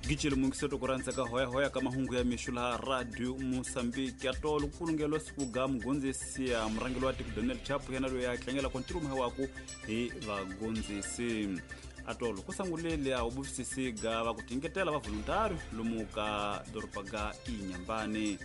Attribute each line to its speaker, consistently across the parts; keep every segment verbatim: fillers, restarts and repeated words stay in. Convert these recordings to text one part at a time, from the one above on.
Speaker 1: Gicile mungiseto kuranza ka hoya hoya ka mahungu ya mixo laha Radio Mozambique ya tolo kulungelo siku ga mugondzisi ya murhangeri wa tiko Daniel Chapo yena loyi a tlangela ntirho waku hi vagondzisi. Atolo ku sangulele a ubufisisi ga va ku tingetela va voluntary lomu ka doroba ga Inhambane.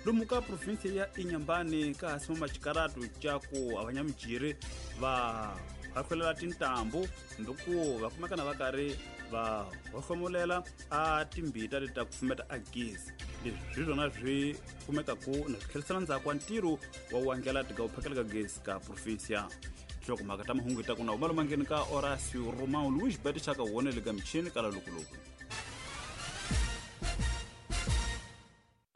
Speaker 1: Lomu ka province ya Inhambane ka hasima machikaratu chaku avanyamijiri va hakhwelela tintambu nduku va kumekana va karhi va hohlomulela a timbita leti ta kufumeta a gezi. Leswi swi swona swi kumekaku na swi tlherisela ndzhaku wa ntirho wa wandlela tika u phakela ka gezi ka province. Hloko mhaka ta mahungu ta kuna umalo mangeni ka Horacio Romão Luiz Beto chaka wona le ka michini kala lokoloku.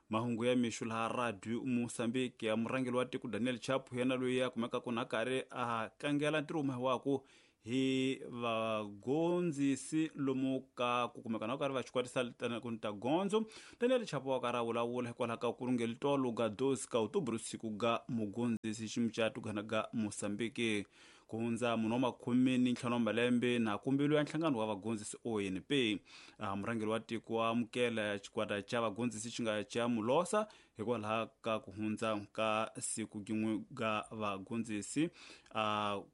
Speaker 1: Mahungu ya mixo laha Radio Mozambique ya murhangeri wa tiko Daniel Chapo yena loyi a kumeka ku na karhi a tlangela ntirho waku hi vagondzisi lomu ka ku kumeka na karhi va xikwatisa ku ta gondzo. Daniel Chapo wa karhi a vulavula hikwalaho ka ku rungeli tolo ga doze ka outubro siku ga mugondzisi ximucato gana ga Mozambique. Ku hundza munhu wa makhume ni ntlhanu wa malembe na kumbilu ya nhlangano wa vagondzisi O N P. Murhangeri wa tiko wa amukela xikwata xa vagondzisi xi nga xa Mulosa hikwalaho ka ku hundza ka siku gin'we ga vagondzisi.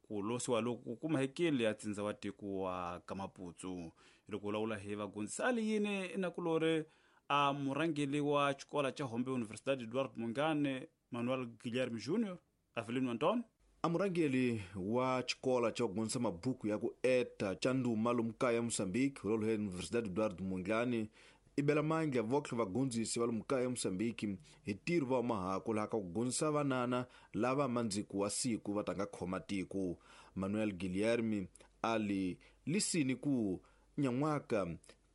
Speaker 1: Ku losiwa loku kuma hekele ya tsindza wa tiko wa Kamaputsu. Loko vulavula hi vagondzisi a li yini nakulori a murhangeri wa xikolo xa Hombe Universidade Eduardo Mondlane Manuel Guilherme Júnior Avelino Antonio.
Speaker 2: Amurangeli wa xikolo xa ku gondzisa mabuku ya ku eta xa ndhuma lomu kaya ya Mozambique rolo Universidade Eduardo Mondlane i bela mandla votlhe vagondzisi va lomu kaya ya Mozambique hi ntirho va mahako laha ka ku gondzisa vanana lava mandziku wa siku va tanga khoma tiko. Manuel Guilherme ali lisini ku nyan'waka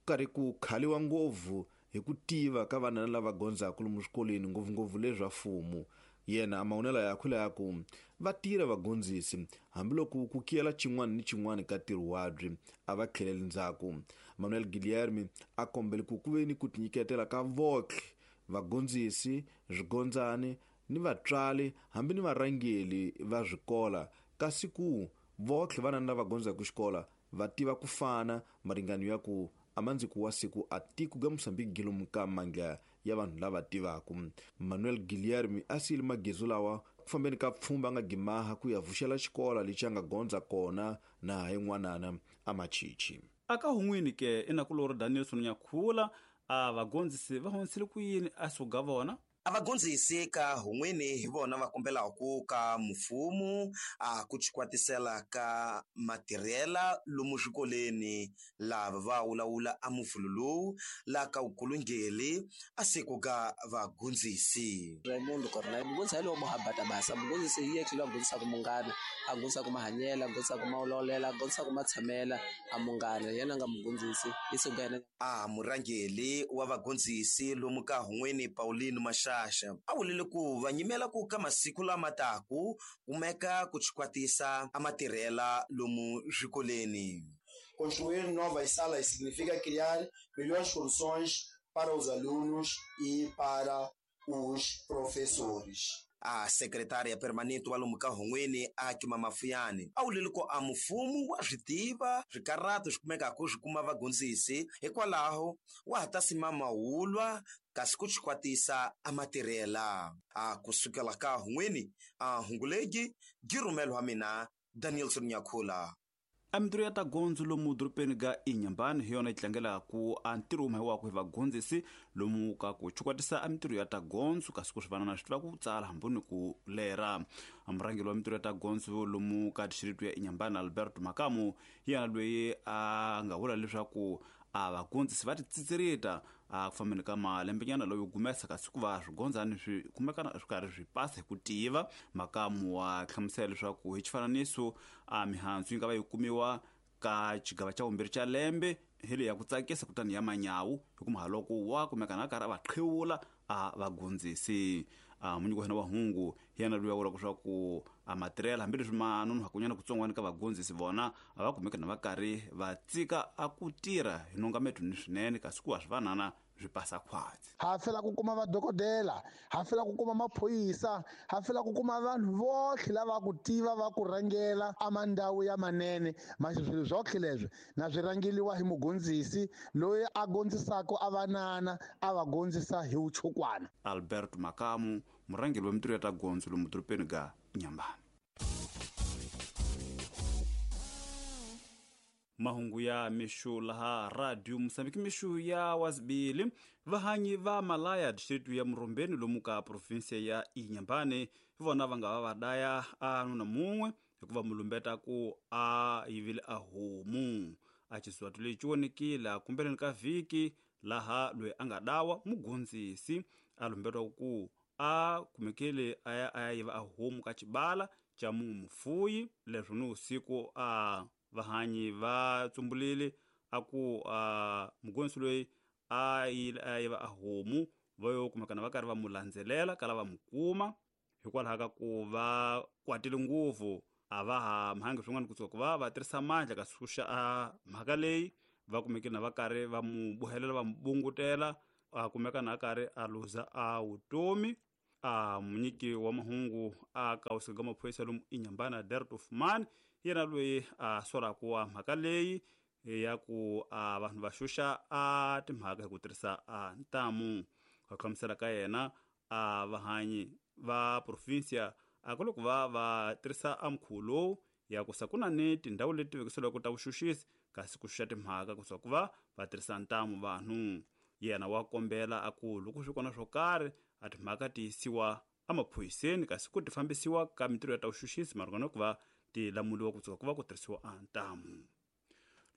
Speaker 2: karhi ku khaliwa ngopfu hi ku tiva ka vanana lava gondzaka lomu swikolweni ngopfungopfu leswa mfumo. Yena a mahunela yakwe la ku va tirha vagondzisi hambiloko ku kiyela xin'wana ni xin'wana ka ntirho wabyi a va tlheleli ndzhaku. Manuel Guilherme a kombele ku ku ve ni ku tinyiketela ka votlhe vagondzisi swigondzani ni vatswari hambi ni varhangeli va swikola kasi ku votlhe vanana lava gondzaka xikola va tiva ku fana maringano ya ku amandziku wa siku a tiko ga Mozambique lomu ka mandla ya vanhu lava tivaka. Manuel Guilherme a siyile magezu lawa ku fambeni ka pfhumba nga gimaha ku ya vuxela xikola lexi a nga gondza kona na hi n'wanana a machichi.
Speaker 1: Aka hun'wini ke inakulori Danielson Nyakhula a vagondzisi va hundzisile ku yini a suga vona.
Speaker 3: A vagondzisi ka hun'wini hi vona va kombelaku ka mfumo a ku chikwatisela ka matirhela lomu swikolweni lava va wulawula a mufulu lowu la ka ukulungeli a siku ka vagondzisi.
Speaker 4: Raimundo Cornelio mugondzisi hi lowo muhabata basa mugondzisi hi yekhe loyi a gondzisaka munghana a gondzisaka mahanyela a gondzisaka mawulolela a gondzisaka matshamela a munghana yena nga mugondzisi hi siku yena.
Speaker 3: A murhangeli wa vagondzisi lomu ka hun'wini Paulino Masha a wulile ku va nyimela ku ka masiku lama taku kumeka ku chikwatisa a matirhela lomu swikolweni.
Speaker 5: Construir novas salas significa criar melhores condições para os alunos e para os professores.
Speaker 3: A secretária permanente wa lomu ka hun'wini a Kima Mafuyani a wulile ku a mfumo wa swi tiva swikarhato swi kumekaka swi kuma vagondzisi hikwalaho wa ha ta sima mahulwa kasi ku chikwatisa a matirhela. A kusukela ka hun'wini a hungulegi girumelo wa mina Danielson Nyakhula.
Speaker 1: A mintirho ya ta gondzo lomu dorobeni ga Inhambane hi yona yi tlangelaku a ntirho wuma waku hi vagondzisi lomu ka ku chukwatisa a mintirho ya ta gondzo kasi ku swi vanana swi tiva ku tsala hambi ni ku lera. A murhangeri wa mintirho ya ta gondzo lomu ka dixiritu ya Inhambane Alberto Makamu hi yena loyi a nga vula leswaku a vagondzisi va titsitserita a ku fambeni ka malembenyana loyo gumesa kasi ku va swigondzani swi kumekana swi karhi swi pasa hi ku tiva. Makamu wa hlamusela leswaku hi xifananiso a mihandzu yi nga va yi kumiwa ka xigava xa vumbirhi xa lembe hi leyi ya ku tsakisa kutani ya manyawu hikuva haloko wa kumekana a karhi a va qhewula a vagondzisi. A munyiki wa hina wa hungu hi yena loyi a vulaka leswaku a matirhela hambileswi ma nonohakunyana kutsongwana ka vagondzisi vona a va kumeka na va karhi va tsika a ku tirha hi nongameto ni swinene kasi ku wa swi vanana swi pasa khwatsi.
Speaker 6: Ha fela ku kuma vadokodela, ha fela ku kuma maphorisa, ha fela ku kuma vanhu votlhe lava ku tiva va ku rhangela amandawu ya manene. Masi swilo swotlhe leswi na swi rhangeliwa hi mugondzisi loyi a gondzisaka a vanana a va gondzisa hi vuchukwana.
Speaker 1: Albert Makamu, murhangeri wa mintirho ya ta gondzo lomu dorobeni ga Inhambane. Mahungu ya mixu laha Radio Mozambique, mixu ya wasibili. Vahanyi va Malaya district ya Murumbeni lomu ka provinsia ya Inhambane hi vona va nga va va daya a nuna mun'we hikuva mulumbeta ku a yivile a homu. A xiswathu lexi vonekile kumbeleni ka vhiki laha loyi a nga dawa mugondzisi a lumbetiwa ku a kumekile a ya a ya yiva a homu ka xibala xa mufuyi. Leswo ni usiku a vahanyi va tsumbulile a ku a mugondzisi loyi a yile a yiva a homu, va yo kumekana va karhi va mu landzelela kala va mu kuma. Hikwalaho ka ku va kwatile ngopfu a va ha mhangi swin'wana kusuka ku va va tirhisa mandla ka xuxa a mhaka leyi, va kumekile na va karhi va mu bohelela va mu bungutela, a kumeka na karhi a luza a vutomi. A munyiki wa mahungu a ka usika maphorisa lomu Inhambane Derto Fumani yena loyi a solaka wa mhaka leyi ya ku a vanhu va xuxa a timhaka hi ku tirhisa a ntamu. Ku hlamusela ka yena a vahanyi va provinsia a ku loko va va tirhisa a mukhuva lowu ya ku sa ku na ni tindhawu leti vekiseliwaka ta vuxuxisi kasi ku xuxa timhaka kusuka ku va va tirhisa ntamu vanhu. Yena wa kombela a ku loko swi kona swo karhi a timhaka ti yisiwa emaphoyiseni kasi ku ti fambisiwa ka mintirho ya ta vuxuxisi marungana ku va ti lamuliwa kusuka ku va ku tirhisiwa a ntamu.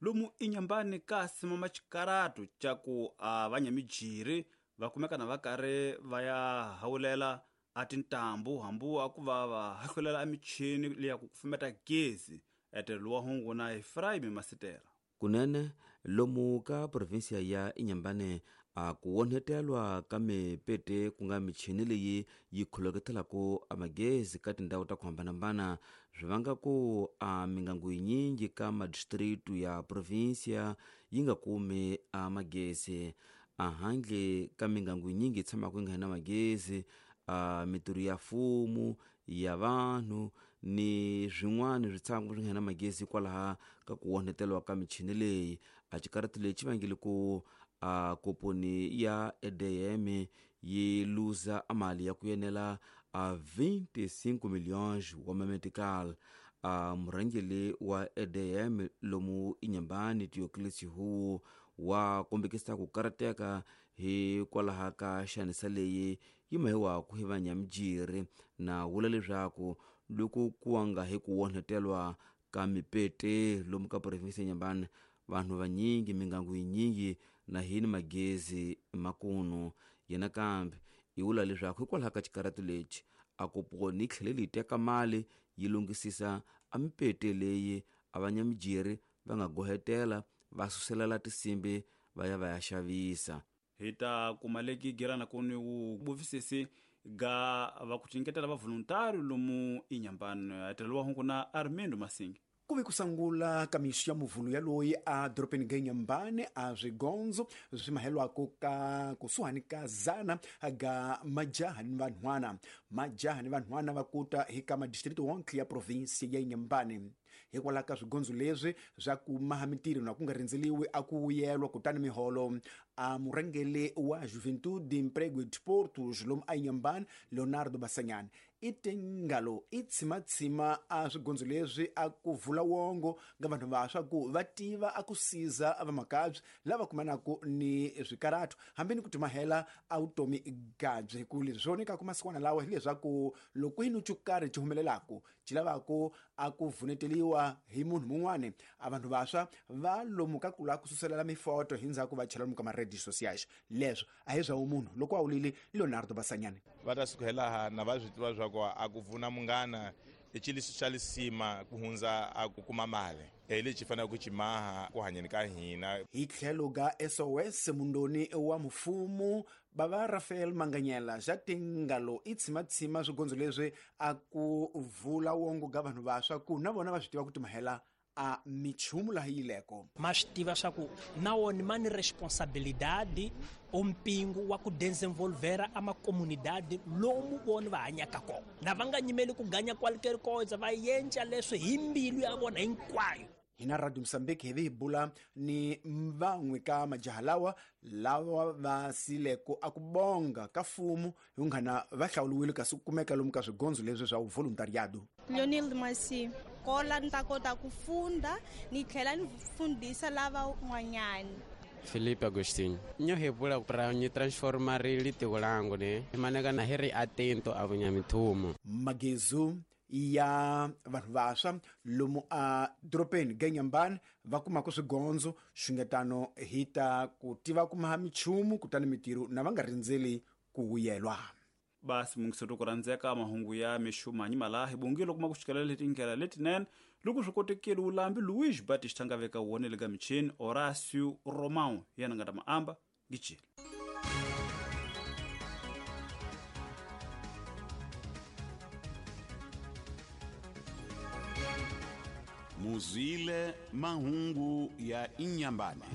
Speaker 1: Lomu Inhambane ka simama xikaratu xa ku a vanyamijiri va kumeka na va karhi va ya hawulela a tintambu hambu a ku va va hahlulela emichini leya ku kufumeta gezi. Etelo wa hungu na Efraim Masitela.
Speaker 7: Kunene lomu ka provinsia ya Inhambane a ku onhetelwa ka mipete ku nga michini leyi yi kholoketelaka amagezi ka tindhawu ta ku hambanahambana swi vanga ku a mingangu yinyingi ka madistritu ya provinsia yi nga kumi amagezi. Ahandle ka mingangu yinyingi yi tshamaka yi nga na magezi, a mintirho ya mfumo ya vanhu ni swin'wana swi tshama swi nga na magezi kwalaha ka ku onhetelwa ka michini leyi. A xikaratu lexi vangile ku a komponi ya E D M yi luza mali ya ku yenela a vinte e cinco milhões wa mametical. A murhangeri wa E D M lomu Inhambane Diocles Hu wa kombekisa ku karateka hikwalaho ka xanisa leyi yi mahiwaku hi vanyamijiri na vula leswaku loko ku nga hi ku onhetelwa ka mipete lomu ka provinsi ya Inhambane vanhu vanyingi mingangu yinyingi na hini magezi makunu. Yena kambe yi vula leswaku hikwalaho ka xikaratu lexi a koponi yi tlhele yi teka mali yi lunghisisa a mipete leyi a vanyamijiri va nga gohetela va suselela tinsimbi va ya va ya xavisa.
Speaker 1: Hi ta kuma leki gerana ku ni vuvisisi ga va ku tinyiketela va voluntary lomu Inhambane. Etelo wa hungu na Armindo Masingi.
Speaker 8: Ku ve ku sungula ka mixo ya muvhulu ya loyi a dorobeni ga Inhambane a swigondzo swi mahelwako ka kusuhani ka zana ga majaha ni vanhwana. Majaha ni vanhwana va kuta hi ka madistrito wonke ya provinsi ya Inhambane. Hikwalaho ka swigondzo leswi swa ku maha mintirho na ku nga rindzeliwi a ku vuyelwa kutani miholo a murhangeri wa Juventude Emprego e Desportos lomu a Inhambane Leonardo Basanyane i tingalo i tshimatshima a swigondzo leswi a ku vula wongo nga vanhu vantshwa ku va tiva a ku siza vamakabye lava kumanaku ni swikaratu hambi ni ku timahela a vutomi gabye. Ku leswi swi vonekaku masikwana lawa hileswaku loko hi ni xo karhi xi humelelaku xi lavaku a ku vuneteliwa hi munhu mun'wani a vanhu vantshwa va lomu ka ku lava ku suselela mifoto hi ndzhaku va chela lomu ka ma-radio sociais. Leswo a hi swa vumunhu loko a wulile Leonardo Basanyane.
Speaker 9: Va ta suka hi laha na va swi tiva swa ku a ku pfuna munghana i xilo xa lisima ku hundza a ku kuma mali hi lexi faneleke ku xi maha ku hanyeni ka hina.
Speaker 8: Hi tlhelo ga S O S mundoni wa mfumo bava Rafael Manganyela xa tingalo i tshimatshima swigondzo leswi a ku vula wongo ga vanhu vantshwa ku na vona va swi tiva ku timahela a michumu laha yileko.
Speaker 10: Ma swi tiva swa ku na wona ma ni responsabilidade o mpingu wa ku desenvolvera a macomunidade lomu vona va hanyaka kona, na va nga nyimeli ku ganya qualquer coisa, va yenca leswi hi mbilu ya vona hinkwayo.
Speaker 8: Hina Radio Mozambique hi vi hi bula ni van'we ka majaha lawa lawa va sileko a ku bonga ka fumu hi nghana va hlawuliwile kasi ku kumeka lomu ka swigondzo leswi swa voluntariado.
Speaker 11: Leonel Masi kola ni ta kota ku funda ni tlhela ni fundisa lava n'wanyana.
Speaker 12: Felipe Agostinho nyo hi vula pra ni transformar litiko langu ne maneka na hi ri atento a vunyamithumo
Speaker 8: magezu ya vanhu vantshwa lomu a doropeni Ganyambani va kumaka swigondzo xungetano hi ta ku tiva kuma michumu kutani mitirho na va nga rindzeli ku vuyelwa.
Speaker 1: Basi mungisoto ku rhandzeka mahungu ya mixuma nyimala hi bongile kuma ku xikelela letindlela letinene loko swi kotekile ulambi Luis Batista nga veka wona le ka michini Horacio Romão yena nga ta maamba gijile.
Speaker 13: Muzwile mahungu ya Inyambane.